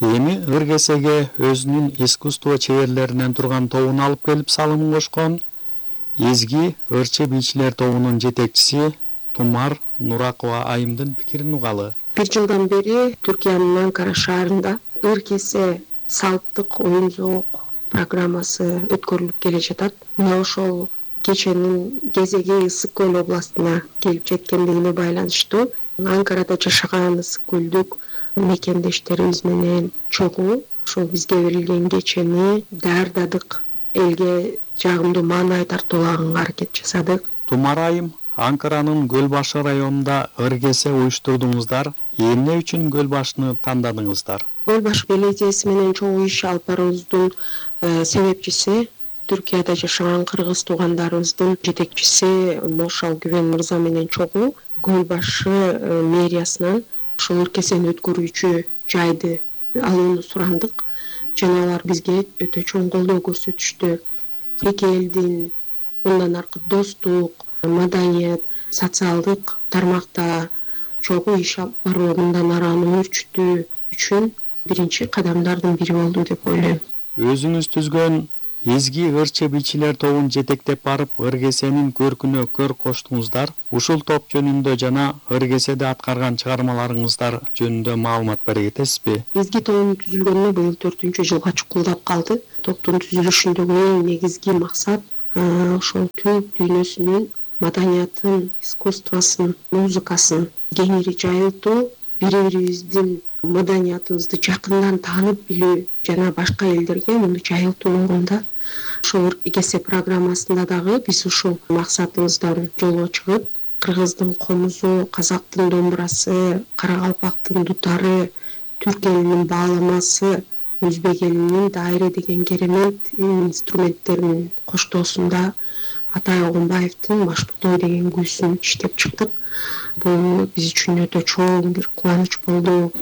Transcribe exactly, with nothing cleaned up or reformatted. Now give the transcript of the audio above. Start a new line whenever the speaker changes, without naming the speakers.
Эми Ыргесеге өзүнүн искусство чеберлеринен турган тобун алып келип салымын кошкон Эзги ырчы бийчилер тобунун жетекчиси Тумар Нуракова айымдын пикирин угалы.
Бир жылдан бери Түркиянын Анкара шаарында Ыргесе салттык оюн зоок программасы өткөрүлүп келе жатат. Мына ошол кеченин кезеги Ысык көл областына келип жеткендигине байланыштуу Анкарада жашаган ысык көлдүк мекендештерибиз менен чогуу ошол бизге берилген кечени даярдадык, элге жагымдуу маанай тартуулаганга аракет жасадык.
Тумар айым, Анкаранын Көл башы районунда Ыргесе уюштурдуңуздар. Эмне үчүн Көл башыны тандадыңыздар?
Көл башы беледияси менен чогуу иш алып баруубуздун себепчиси Түркияда жашаган кыргыз туугандарыбыздын жетекчиси Мошал Күбен мырза менен чогуу Көл башы мэриясынан ошол ыркесени өткөрүүчү жайды алууну сурандык жана алар бизге өтө чоң колдоо көрсөтүштү. Эки элдин мындан аркы достук, маданият, социалдык тармакта чогуу иш алып баруу мындан ары аны өөрчүтүү үчүн биринчи кадамдардын бири болду деп ойлойм.
Өзүңүз түзгөн Эзги ырчы бийчилер тобун жетектеп барып Ыргесенин көркүнө көр коштуңуздар. Ушул топ жөнүндө жана Ыргеседе аткарган чыгармаларыңыздар жөнүндө маалымат бере кетесизби?
Эзги тобунун түзүлгөнүнө быйыл төртүнчү жылга чукулдап калды. Топтун түзүлүшүндөгү эң негизги максат ошол түрк дүйнөсүнүн маданиятын, искусствосын, музыкасын кеңири жайылтуу, бири-бирибиздин маданиятыбызды жакындан таанып билүү жана башка элдерге муну жайылтуу болгонда ошол Ыргесе программасында дагы биз ушул максатыбыздан жолго чыгып, кыргыздын комузу, казактын домбурасы, карагалпактын дутары, түрк элинин бааламасы, өзбек элинин дайре деген керемет инструменттеринин коштоосунда Атай Огунбаевдин Машбутой деген күүсүн иштеп чыктык. Бул биз үчүн өтө чоң бир кубаныч болду.